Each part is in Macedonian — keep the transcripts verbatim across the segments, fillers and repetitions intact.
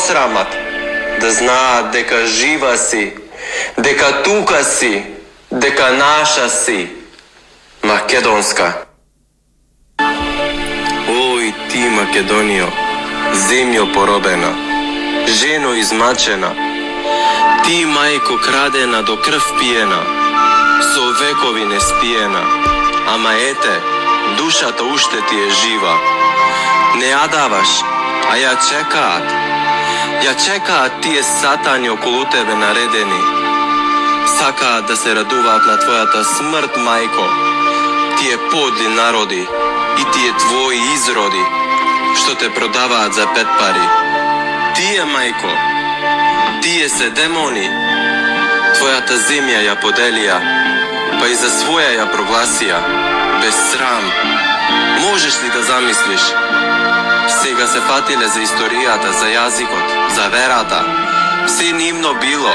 посрамат, да знаат дека жива си, дека тука си, дека наша си, македонска. Ој ти, Македонијо, земјо поробена, жено измачена, ти, мајко крадена до крв пиена, со векови не спиена, ама ете, душата уште ти е жива. Не ја даваш, а ја чекаат. Ја чекаат тие сатани околу тебе наредени. Сакаат да се радуваат на твојата смрт, мајко. Тие подли народи и тие твои изроди, што те продаваат за пет пари. Тие, мајко, тие се демони. Твојата земја ја поделија, па и за своја ја прогласија, без срам. Можеш ли да замислиш? Сега се фатиле за историјата, за јазикот, за верата. Се нивно било,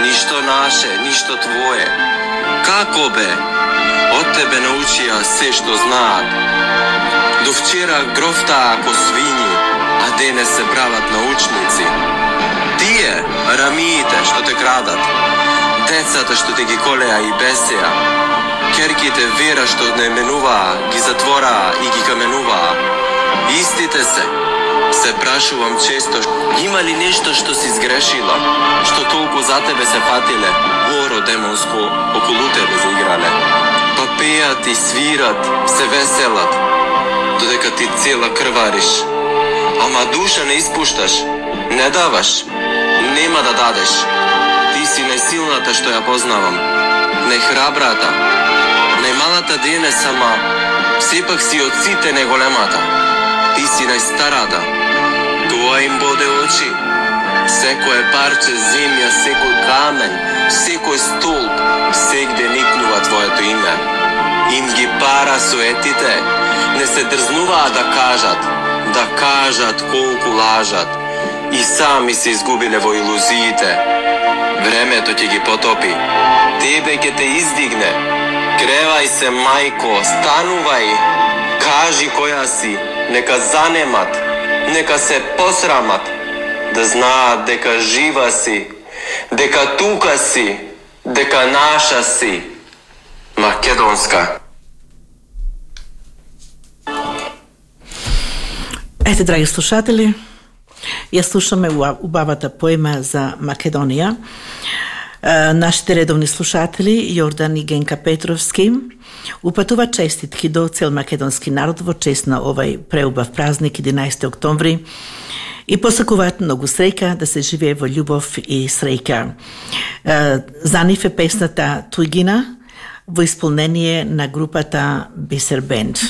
ништо наше, ништо твое. Како бе? Од тебе научија се што знаат. До вчера грофтаа ко свињи, а денес се прават научници. Тие, рамиите што те крадат, децата што те ги колеа и бесеа, керките вера што не менуваа, ги затвораа и ги каменуваа. Истите се. Се прашувам често, има ли нешто што си сгрешила, што толку за тебе се фатиле, горо демонско околу тебе заиграле. Па пеат и свират, се веселат, додека ти цела крвариш. Ама душа не испушташ, не даваш, нема да дадеш. Ти си најсилната што ја познавам, најхрабрата, најмалата денес, ама сепак си од сите најголемата. Ти си најстарата, тоа им боде очи. Секое парче земја, секој камен, секој столб, сегде никнува твоето име. Им ги пара суетите, не се дрзнуваат да кажат, да кажат колку лажат. И сами се изгубиле во илузиите. Времето ќе ги потопи, тебе ќе те издигне. Кревај се, мајко, станувај, кажи која си, нека занемат, нека се посрамат, да знаат дека жива си, дека тука си, дека наша си, македонска. Ете, драги слушатели, ја слушаме убавата поема за Македонија. Нашите редовни слушатели, Јордан и Генка Петровски, упатува честитки до цел македонски народ во чест на овај преубав празник единаесети октомври и посакуваат многу среќа, да се живее во љубов и среќа. За нив е песната Тујгина во исполнение на групата Бисер Бенд.